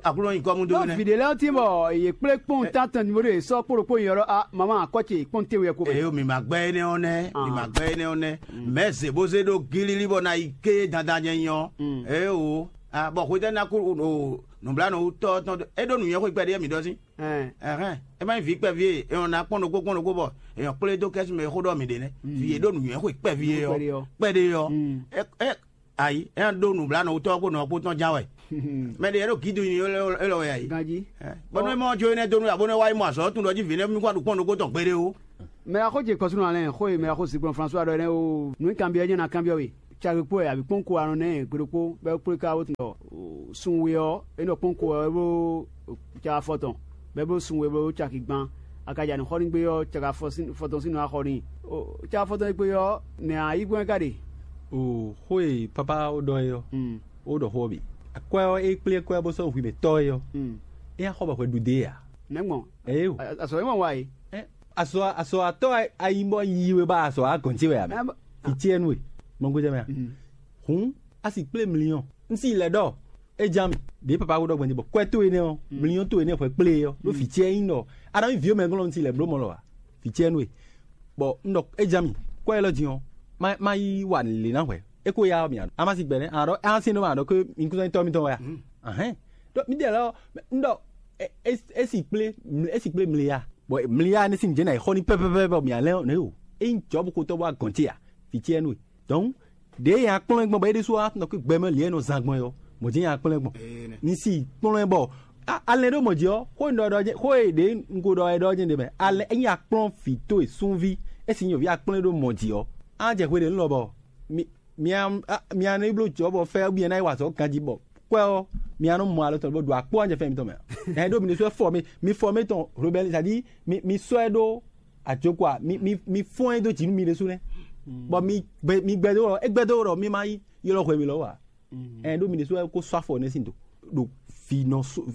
Aklúnɔ nyi kɔ́ mú dó nɛ́. Vǐ ɖé lɛ́ɛ ɔ́ tín bɔ yě kplé kpɔ́n tántɔn ní bó ɖo yě sɔ́ kpó ɖokpó nyɔ̌ ɖɔ a mama akɔ́ ce kpɔ́n téwe ko mɛ. Eye mi ma gbɛ́ énɛ́ ɔ́ nɛ́, mi ma gbɛ́ énɛ́ ɔ́ nɛ́. Mɛ̌ zě bó zé ɖó gílílí bɔ ná yi ké dandan nyɛ nyɔ. Eye o, bɔ hwetɛ́ ná kú nǔblanú tɔ́ tɔn é ɖó nǔnywɛ́ xwe kpɛɖé mi ɖɔ sín. Ɛhɛn, é má nyí vǐ kpɛví e è nɔ ná kpɔ́n ɖokpó kpɔ́n ɖokpó bɔ è nɔ kplé dó kɛ́sú mɛ e xó ɖɔ mǐ ɖe nɛ́. Vǐ e ɖó nǔnywɛ́ xwe kpɛví e ɔ́, kpɛɖé ɔ́, é é Ayi, é ná ɖó nǔblanɔwutɔ́ ɔ́ kpó nɔ ɔ́ kpó tɔn ján wɛ. Mɛ ɖě e ɖo gǐdo nyi élɔ́ élɔ́ wɛ ayi. Ganjí. Bɔ nú é mɔ jó énɛ́ dó nú abónú é wá yi mɔ azɔ̌ tún ɖɔ jí vǐ nɛ́ mí kún aɖukpɔ́n ɖokpó tɔn gbeɖé ó. Mɛ axó ce kɔsúnɔ alɛ xó e mɛ axó Zigbɔn François ɖɔ énɛ́ o, nǔ e kanbyɔ́ é nyɔ́ ná kanbyɔ́ we. Cagbe kpó wɛ abǐ kpɔ́n ko anɔ nɛ́ gbeɖokpó bɔ é kplé ká wó tun ɖɔ sun we ɔ́, é nɔ kpɔ́n ko wɛ é bó caka fɔ tɔn, bɔ é bó sun we bó caki gban. A ka ja nǔ xɔ n'i gbé ɔ́, caka fɔ sín- fɔ tɔn sín nɔ wá xɔ n'i. Caka fɔ tɔn e gbé ɔ́, nɛ̌ a yí gbɔn é ka ɖe? O xó e papa ó ɖɔ é ɔ́, ó ɖɔ xó ɔ́ bǐ. Akwɛ́ ɔ́, é kplé kwɛ́ bó sɔ́ hwi mɛ tɔ́ é ɔ́, é nya xɔ bɔ hwɛ ɖu dé ǎ. Nɛ̌ gbɔn? Ɛ é o. Azɔ é mɔ wa é. Ɛ, azɔ azɔ atɔ́ ayi bɔ yi we ba azɔ agɔn ce wɛ a mɛ? Ɛ, bɔ- Fitiɛnu e mɔ gbɛjɛ mɛ a? Hǔn a si kplé mliyɔn. Un si lɛ ɖɔ é ján mì ɖě papa ko ɖɔ gbɛn bɔ kwɛ́ towe nɛ́ ɔ́, mliyɔn towe nɛ́ hwɛ kplé ɔ́ ɖó fitiɛ nyí ɖɔ a nɔ nyí vǐ mɛ glɔ́n un si lɛ bló mɔ lɔ a? Fitiɛnu e. Bɔ un ɖɔ é ján mì, kwɛ́ élɔ́ din ɔ́, má má yi wa lě ná hwɛ. É ko ya ɔ́ mì a má si gbɛnɛ a ɖɔ a sin ɖɔ ma ɖɔ ké mi kún tɔ́ mitɔn wɛ a? Ahɛn. Ɖɔ mi ɖe lɔ un ɖɔ é si kplé é si kplé mli ya. Bɔ mli ya ne sin jɛ na yi xɔ ni pɛpɛpɛ bɔ mi a lɛ ne o. É nyí jɔ̌ bu xotɔ́ bɔ a gɔn ce a? Fitiɛnu e. Donc ɖěe nya kplɔ́n ɛ gbɔn bɔ é ɖésú wá nɔ kpé gbɛ mɛ lě e nɔ zán gbɔn ɔ́, mɔ̌ jɛ́n nya kplɔ́n ɛ gbɔn. Ní si kplɔ́n ɛ bɔ alɛ ɖó mɔ̌ jí ɔ́, xó e un ɖɔ ɖɔ jɛ́n- xó e ɖě un ko ɖɔ wɛ ɖɔ jɛ́n ɖe mɛ. Alɛ ényí a kplɔ́n vǐ towe súnví, é si nyɔ̌ví a kplɔ́n ɛ ɖó mɔ̌ jí ɔ́, á jɛ hwe ɖě nu lɔ bɔ mi mi mi a nɔ yi bló jɔ̌ bɔ fɛ́ bú nyɛ ná yi wa azɔ̌ ganjí bɔ kwɛ ɔ́, mi a nɔ mɔ alɔ tɔn bó ɖo akpó wá jɛ fɛn mitɔn mɛ. Ɛn ɖó mi ɖésú wɛ fɔ mi mi fɔ mi tɔn Robɛli, c'est-à-dire mi mi sɔ́ ɛ ɖó ajokwa mi mi mi fɔ́n ɛ dó jǐ nú mi ɖésú nɛ́, bɔ mi gbɛ mi gbɛdó wɔ é gbɛdó wɔ mi ma yi ylɔ́ hwɛ mi lɔ wá. Ɛn ɖó mi ɖésú wɛ kó sɔ́ afɔ nɛ́ sín do ɖo vǐ nɔ sú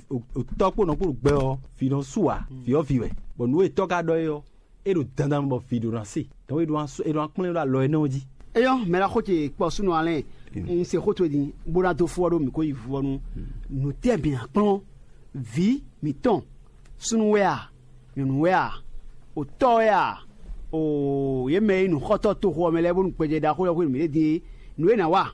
tɔ́ kpó nɔ kpó ɖo gbɛ ɔ́, vǐ nɔ sú ǎ, vǐ ɔ́ vǐ wɛ, bɔ nǔ e tɔ́ ka ɖɔ é ɔ́, é ɖo dandan mɛ bɔ vǐ ɖo ná se, dɔn é ɖo ná kplɔ́n ɖó alɔ énɛ́ ɔ́ jí. Eyɔ́, mɛ ná xó ce kpɔ súnɔ alɛ́n, un se xó towe din bó ná dó fó ɔ́ ɖó mǐ kó yi vú ɔ́ nu. Nǔtɛ́ mǐ ná kplɔ́n vǐ mǐtɔn, súnnu wɛ a, nyɔ̌nu wɛ a, otɔ́ wɛ a, o yě mɛ e nyí nǔxɔ́tɔ́ toxo ɔ́ mɛ lɛ́ɛ bónú gbɛjɛ ɖaxó lɛ́ɛ xwé nǔ yě din é, nǔ e è nǎ wa,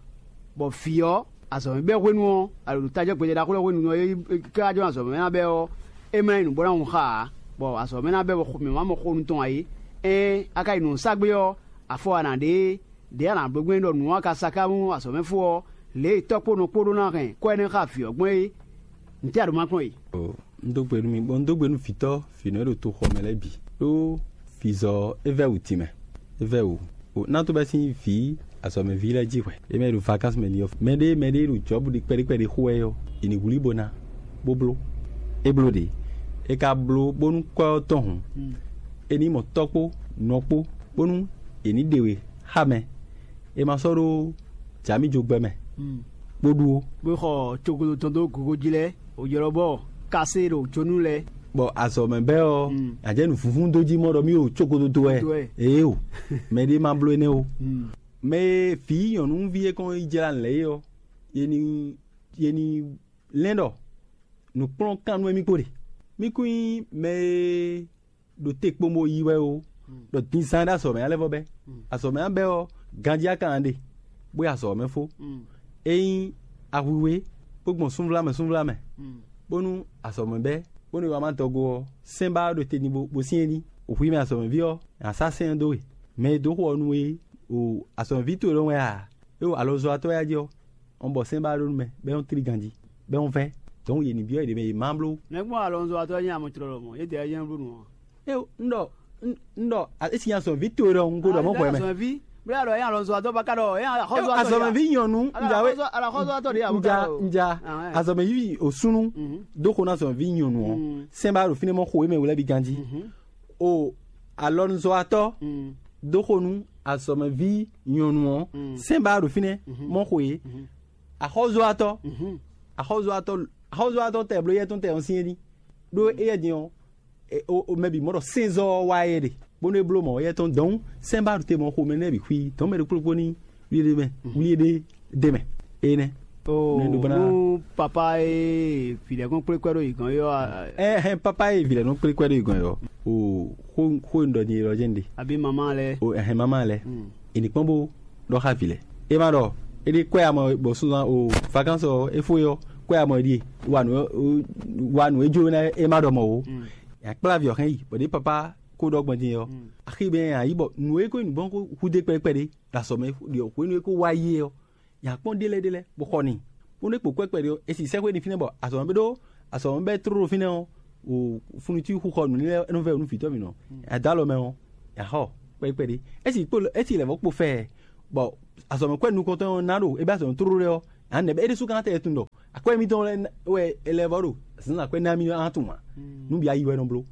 bɔ vǐ ɔ́, azɔ̌ mɛ bɛ́ hwenu ɔ́, alo ɖo tajɔ gbɛjɛ ɖaxó lɛ́ɛ hwenu ɔ́, é ká jɔ azɔ̌ mɛ ná bɛ́ ɔ́, é mlá yi nǔ bó ná hun xá ǎ, bɔ azɔ̌ mɛ ná bɛ́ bɔ mǐ má mɔ xó nu tɔn ǎ é. Ɛ́n a ka yi nǔ sa gbé ɔ́, afɔ wa nǎ ɖe é. Ɖě a nǎ bló gbɛn ɖɔ nǔ ɔ́ ka sa ká mú azɔ̌ mɛ fó ɔ́, lě e tɔ́ kpó nɔ kpó ɖó ná hɛn kɔ́ énɛ́ xá vǐ ɔ́ gbɔn é, ntɛ́ a ɖǒ ma kplɔ́n e? Un dó gbe nú mi, bɔ un dó gbe nú vǐtɔ́ vǐnɔ e ɖo toxɔ mɛ lɛ́ɛ bǐ, ɖó vǐzɔ é vɛ́ wǔ tínmɛ, é vɛ́ wǔ. Ná tó bɛ́ sín vǐ azɔ̌mɛví lɛ́ɛ jí hwɛ̌. É mɛ e ɖo vakánsɛ mɛ ní ɔ́, mɛɖé mɛɖé e ɖo Jɔ̌bu ɖi kpɛɖé kpɛɖé xo wɛ ɔ́, è nǐ wlí bó ná, bó bló. É bló ɖě, é ka bló bónú kɔ́ ɔ́ tɔn hǔn, é ní mɔ tɔ́ kpó nɔ kpó, bónú è ní ɖe we xá mɛ. È ma sɔ́ ɖó jǎ mì jó gbɛ mɛ, bó ɖu ó. Bó xɔ cokodo tɔn dó gogo jí lɛ́ɛ, wò ylɔ́ bɔ kasé ɖo jónú lɛ́ɛ. Bɔ azɔ̌ mɛ bɛ́ ɔ́, a jɛ nǔ vúvún dó jí mɔ ɖɔ mì ɖo cokodo dó wɛ. Dó wɛ. Ee o, mɛɖé ma bló énɛ́ o. Mɛ e vǐ nyɔ̌nuví e kɔn yi jlá lɛ̌ é ɔ́, ye ní ye ní lɛ́n ɖɔ nǔkplɔ́nkan nú émí kpo ɖe. Mí kún nyí mɛ e ɖo te kpombo yi wɛ ó, ɖɔ dinzán ɖo azɔ̌ mɛ ná lɛ́ vɔ bɛ́. Azɔ̌ mɛ ná bɛ́ ɔ́, ganjí a ka ná ɖe, bó yi azɔ̌ mɛ fó. Ényí ahwiwe bó gbɔn súnvlámɛ súnvlámɛ, bónú azɔ̌ mɛ bɛ́, bónú è wá má dɔgo ɔ́, sɛ́n ba ɔ́ ɖo te ní bó bó syɛ́n ní. Hwi mɛ azɔ̌mɛví ɔ́, è nǎ sá sɛ́n ɔ́ dó we. Mɛ e dǒ xo ɔ́ nú we o, azɔ̌mɛví towe lɔ́ wɛ a? É o alɔzɔ́watɔ́ ya jí ɔ́, ɔn bɔ sɛ́n ba ɖó nú mɛ, bɔ é nɔ tlí ganjí, bɔ é nɔ vɛ́. Dɔ̌n yě ní byɔ́ yě ɖě mɛ yě má bló. Nɛ̌ gbɔn alɔzɔ́watɔ́ nyí amɔtrɔlɔ mɔ̌? Yě dɛ nyí bló nǔ ɔ́. É o, un ɖɔ un- un ɖɔ a- é si nyi azɔ̌mɛví towe ɖɔ un ko ɖɔ mɔ̌ xɔ mɛ. Azɔ̌mɛví, bó yà ɖɔ é alɔzɔ́watɔ́ ba ka ɖɔ é axɔ́zɔ́watɔ́. Azɔ̌mɛví nyɔ̌nu, un ja wé, axɔ́zɔ́watɔ́ ɖě un ja un ja azɔ̌mɛví òsúnú dó xo ná azɔ̌mɛví nyɔ̌nu ɔ́, sɛ́n ba ɖo fínɛ́ mɔ xo é mɛ wlɛ́ bí ganjí. O alɔnuzɔ́watɔ́ dó xo nú azɔ̌mɛví nyɔ̌nu ɔ́, sɛ́n ba ɖo fínɛ́ mɔ xo é. Axɔ́zɔ́watɔ́, axɔ́zɔ́watɔ́, axɔ́zɔ́watɔ́ tɛ bló yɛ tɔn tɛ ɔ́ syɛ́n ní. Ɖó éyɛ́ din ɔ́, mɛ bǐ mɔ ɖɔ sɛ́nzɔ́ ɔ́ wá yɛ ɖe, bónú é bló mɔ̌ yɛ tɔn dɔ̌n sɛ́n ba ɖo te mɔ xomɛ nɛ́ bǐ xwí dɔ̌n mɛ ɖokpó ɖokpó ní wlí ɖé mɛ, wlí ɖé ɖé mɛ. Énɛ́. Nú papa e vǐ lɛ́ɛ kɔn kplé kwɛ́ ɖó yě gɔ́n é ɔ́, ɛ hɛn papa e vǐ lɛ́ɛ nɔ kplé kwɛ́ ɖó yě gɔ́n é ɔ́, o xó xó e un ɖɔ din é ɖɔ jɛ́n ɖe. Àbí mamá lɛ́ɛ. O ɛhɛn mamá lɛ́ɛ. È ní kpɔ́n bó ɖɔ xá vǐ lɛ́ɛ. É ma ɖɔ é ɖi kwɛ́ amɔ bɔ sunzan o vacances ɔ́ é fó é ɔ́, kwɛ́ amɔ é ɖíe, wa nǔ wa nǔ e jó ná é ma ɖɔ mɔ̌ ó. È nǎ kplá vǐ ɔ́ hɛn yi bɔ ɖě papa ko ɖɔ gbɔn din ɔ́, axi bɛ nya yí bɔ nǔ e ko nyí nǔgbɔ́n ko hudé kpɛɖé kpɛɖé ɖo azɔ̌ mɛ ɖi hwenu e ko wá yi é ɔ́, Nya kpɔ́n ɖélɛ́ ɖélɛ́ bó xɔ n'i, bónú é kpo kwɛ́ kpɛɖé ɔ́, é si sɛ́xwé n'i fínɛ́ bɔ azɔ̌ ɔ́ ɖó azɔ̌ ɔ́ bɛ́ tlóló fínɛ́ ɔ́, funutí xuxɔ nǔ lɛ́ɛ nɔ vɛ́ nú vǐtɔ́ mǐtɔn. Adǎlɔ mɛ ɔ́, nya xɔ kpɛɖé kpɛɖé. É si kpo é si lɛ̌ vɔ́ kpo fɛ, bɔ azɔ̌ mɛ kwɛ́ nukɔntɔn ɔ́ ná ɖo é bɛ́ azɔ̌ tlóló lɛ́ɛ ɔ́, ǎ nɛ̌ bɛ́ é ɖésú ka ná tɛ tunwun ɖɔ akwɛ́ mitɔn lɛ́ɛ wɛ é lɛ́ vɔ́ ɖo zǎnzǎn kwɛ́ ná mì ná tunwun ǎ. Nǔ bǐ ayi wɛ nɔ bló.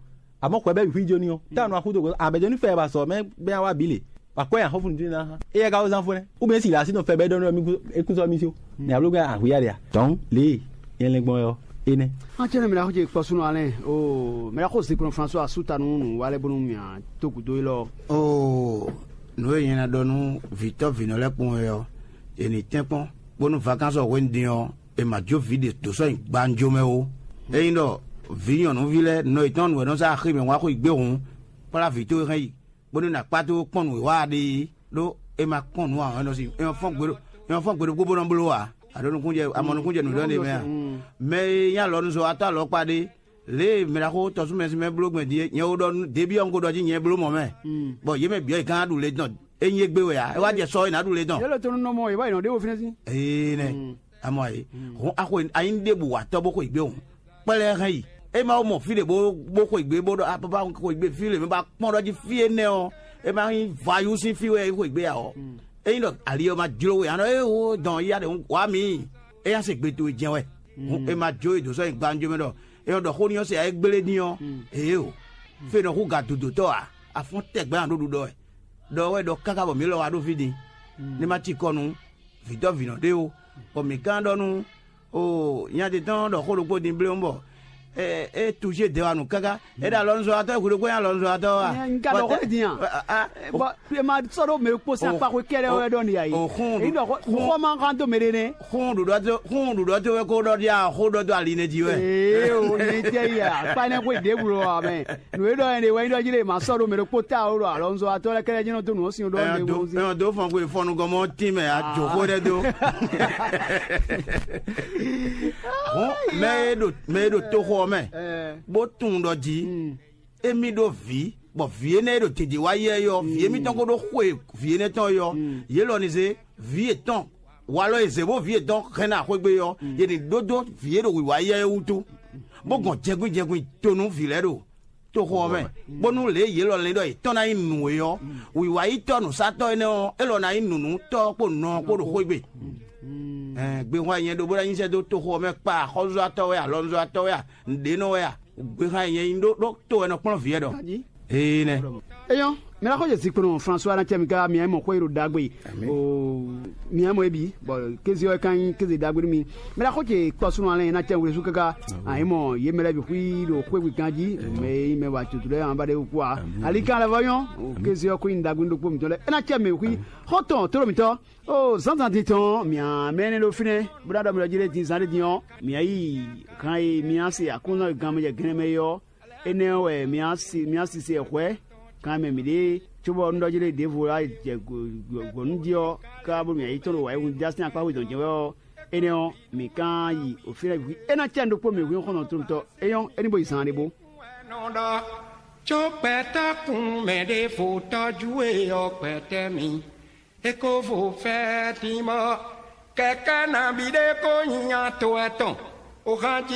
Àmọ́ xwɛ bɛ́ bǐ xwí jó ní ɔ́, tánu axúdo a bɛ̌ jó ní fɛ ba sɔ mɛ bɛ́ wá bǐ lě. Wǎ kɔ́ nyi axɔ́fúnútínú ná hán. Éyɛ́ ka wó zán fó nɛ́? Wú bɛ́ si lǎ sí nɔ fɛ bɛ́ ɖɔ nú é kún sɔ́ mì sí ó. Mɛ abló gbɛ́ ahwǐyá ɖe a? Tɔ̌n lě e nyɛ lɛ́n gbɔn wɛ ɔ́, é nɛ́. An cɛ nɔ mɛ ɖaxó ce kpɔ́ súnɔ alɛ o mɛ ɖaxó zinkplɔn François asú ta nú nǔ wa lɛ́ bónú mì a tó gǔdo élɔ́. Oo, nǔ e nyɛ ná ɖɔ nú vǐtɔ́ vǐnɔ lɛ́ɛ kpɔ́n wɛ ɔ́, è nǐ tɛ́nkpɔ́n, bónú vakánsɔ hwenu din ɔ́, è ma jó vǐ ɖě dǒ sɔ́ nyi gbanjo mɛ ó. Ényí ɖɔ vǐ nyɔ̌nuví lɛ́ɛ nɔ yětɔn nǔ wɛ nɔ zá axi mɛ wá xweyǐgbe hǔn, kplá vǐ towe hɛn yi, bónú è nǎ kpá dó kpɔ́n nǔ e wa ɖe é, ɖó è ma kpɔ́n nǔ ǎ, é nɔ sin é nɔ fɔ́n gbe ɖo é nɔ fɔ́n gbe ɖokpó bó nɔ bló ǎ. A ɖo nukúnjɛ a mɔ nukúnjɛ nǔɖɔ ɖé mɛ a? Mɛ e nyí alɔnuzɔ́watɔ́ alɔkpa ɖé, lě e mɛ ɖaxó tɔsúmɛsúmɛ bló gbɛn din é, nyɛ wo ɖɔ nú Debí ɔ́ un ko ɖɔ jí nyɛ bló mɔ̌ mɛ, bɔ yě mɛ bǐ ɔ́ yě gán ɖu le dɔn. É nyí égbé wɛ ǎ, é wá jɛ sɔ é nǎ ɖu le dɔn. Yě lɛ tɔn nɔ mɔ yě wá yi nɔ ɖé wo fínɛ́ sín. Ee nɛ, amɔ ayé, hɔn axɔ anyi ɖe bǔ wa tɔ́ bó xo yě gbé hɔn, kpɛlɛ hɛn yi. É ma wo mɔ fí ɖě bó bó xo yě gbé bó ɖɔ apapa xo yě gbé fí lě mɛ ba kpɔ́n ɖɔ jí fí énɛ́ ɔ́, é ma nyí vayú sín fí wɛ é xo yě gbé ǎ ɔ́. Ényí ɖɔ ali ɔ́ ma jló we anɔ é wo dɔn yá ɖe wá mǐ. É yá se gbe towe jɛn wɛ. Hǔn è ma jó e dǒ sɔ́ nyi gbanjɔ mɛ ɖɔ è nɔ ɖɔ xó ní ɔ́ se ayé gblé ní ɔ́, ěe o. Fé nɔ hú ga dodotɔ́ ǎ, afɔ́n tɛgbɛ ǎ ɖó ɖuɖɔ wɛ. Ɖɔ wɛ ɖɔ káká bɔ mǐ lɔ wá ɖó fí din, ní ma cikɔ nú vǐtɔ́ vǐnɔ ɖé ó, bɔ mǐ gán ɖɔ nú o nya ɖé tɔn ɖɔ xó ɖokpó din bléwún bɔ é tují dɛwanu káká. É ɖo alɔnuzɔ́watɔ́, hwi ɖokpó nyí alɔnuzɔ́watɔ́ wa. N ka ɖɔ xó din a? Bɔ e ma sɔ́ ɖó mɛ kpó sín akpa xwé kɛ́ɖɛ́ wɛ ɖɔ nìyá yi. Èyí ɖɔ xó ma xán dó mɛ ɖé nɛ́. Xún ɖuɖɔ tó xún ɖuɖɔ tó wɛ kó ɖɔ ɖi a xó ɖɔ dó ali nɛ jí wɛ. Ee o, ní jẹ́ yà kpánẹ́ xwé ɖěbǔ lɔ amɛ. Nǔ e ɖɔ yẹn ɖe wɛ nyí ɖɔ jí lè má sɔ́ ɖó mɛ ɖokpó ta o ɖo alɔnuzɔ́watɔ́ lɛ́ɛ kɛ́ɖɛ́ jɛ́n nɔ dó nǔ ɔ́ sin ɖɔ Ɛyɔ lé dó wó zé. Ɛyɔ dó fɔn xwe fɔnugɔmɔ tín mɛ a jǒ xó ɖɛ dó. Hɔn mɛ e ɖo mɛ e ɖo toxo ɔ́ mɛ, bó tunwun ɖɔ jí émí ɖó vǐ, bɔ vǐ énɛ́ e ɖo dědě wá yɛ é ɔ́, vǐ émítɔn ko ɖó xwe vǐ énɛ́ tɔn é ɔ́, yě lɔ ní zé vǐ yětɔn walɔ e zě bó vǐ yětɔn hɛn ná xwégbé ɔ́, yě ní ɖó dó vǐ e ɖo wǐwá yɛ é wútu, bó gɔn jɛnkwín jɛnkwín to nú vǐ lɛ́ɛ ɖo toxo ɔ́ mɛ, bónú lě e yě lɔ lɛ́n ɖɔ yětɔn ná nyí nǔ é ɔ́, wǐwáyítɔ́ nǔsatɔ́ énɛ́ ɔ́, é lɔ ná nyí nǔnútɔ́ kpó nɔ ɔ́ kpó ɖo xwé gbe. Gbehwan nyɛ ɖo bó ná nyi sɛ́ dó toxo ɔ́ mɛ kpa axɔ́zɔ́tɔ́ wɛ, alɔnuzɔ́tɔ́ wɛ a, nǔɖénɔ wɛ a, gbehwan nyɛ nyí ɖó ɖó to wɛ nɔ kplɔ́n vǐ wɛ ɖɔ. Ee nɛ. Eyɔn, mɛ la xɔ jɛ zikpɔnɔ François na cɛ mi ka mi mɔ xɔ yiro dagbe. O mi mɔ ebi bɔ kezi ɔ kan nyi kezi dagbe mi. Mɛ la xɔ jɛ kpɔsunu alɛ na cɛ wlesu kaka. Ayi mɔ ye mɛ lɛ bi xui do xwe gbe kan ji. Mɛ yi mɛ wa tutu lɛ an ba de ku a. Ali kan lɛ vɔ yɔn. O kezi ɔ ko nyi dagbe do kpo mi tɔ lɛ. E na cɛ mi xui. Xɔ tɔn toro mi tɔ. O zanzan din tɔn mia mɛ ne ɖo fínɛ bó ná ɖɔ mi ɖɔ jí lé din zan ɖé din ɔ́ mia yi hàn e mia se akúnzán e gan mɛ jɛ gɛnɛ mɛ é ɔ́, énɛ́ ɔ́ wɛ mia si mia sise hwɛ̌ kan mɛ mǐɖée, cóbɔ un ɖɔ jí lé ɖěvo lá jɛ gbɔ̌nu jí ɔ́, ká bónú mia yi tɔ́n ɖo wǎyíhun já sín akpá xwedɔn jɛ́n wɛ ɔ́, énɛ́ ɔ́, mǐ ká yi òfínɛ́ hwi é ná cɛ ɖokpó mǐ hwi xɔ́ntɔn tónútɔ́ é nyɔ́ é ní bo yi zaan ɖé bó. Nɔ ɖɔ, có gbɛtɔ́ kun mɛ ɖěvo tɔ́jú we ɔ́ gbɛtɛ́ mi. É ko vo fɛ́ dín bɔ kɛkɛ́ nabí ɖé ko nyi nya to etɔn, ohan jí